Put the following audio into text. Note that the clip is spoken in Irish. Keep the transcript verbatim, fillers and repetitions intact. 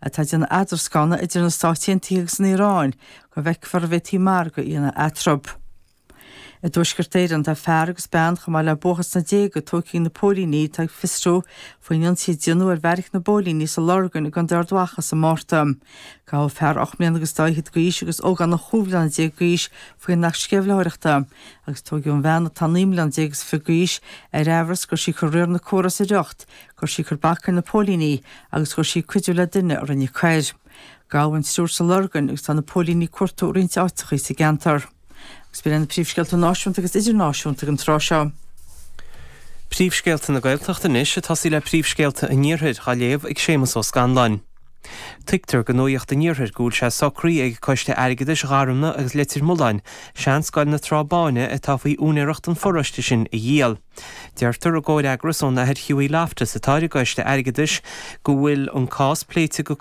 atá ag déanamh eadroscána idir na Stáit Aontaithe agus an Iaráin go bhfeicfear an bhféadfaí margadh a dhéanamh eatarthu. I dTuaisceart Éireann tá fear agus bean chomh maith le buachaill sna déaga tógtha ag na póilíní atá ag fiosrú faoin ionsaí a déanadh ar bheairic na bpóilíní sa Lorgain i gContae Ard Mhacha sa Márta. Gabhadh fear ocht mbliana agus dá fhichead d'aois agus ógánach chúig bhliana déag d'aois faoin Acht Sceimhlitheoireachta, agus tógadh an bhean atá naoi mbliana déag is fiche d'aois ar amhras go raibh sí ag cur riar na córa as a riocht, go raibh sí ag cur bac ar na póilíní agus go raibh sí ag cuidiú le duine a rinne coir. Gabhadh an triúr sa Lorgain agus tá na póilíní ag cuartú roinnt áiteacha sa gceantar. Agus b'in na príomhscéalta náisiúnta agus idirnáisiúnta ag an tráth seo. Príomhscéalta na Gaeltachta anois ag tosaí le príomhscéalta an Iarthair á léamh ag Séamus Ó Scanláin. Tuigtear do Nuacht an Iarthair go bhfuil sé socraithe ag Coiste Airgeadais Gharumna agus Leitir Mealláin, seanscoil na Trá Báine atá faoi úinéireacht an pharóiste sin a dhíol. Deirtear i gcomhfhreagras ón Athair Hughie Loftus atá ar an gCoiste Airgeadais go bhfuil an cás pléite go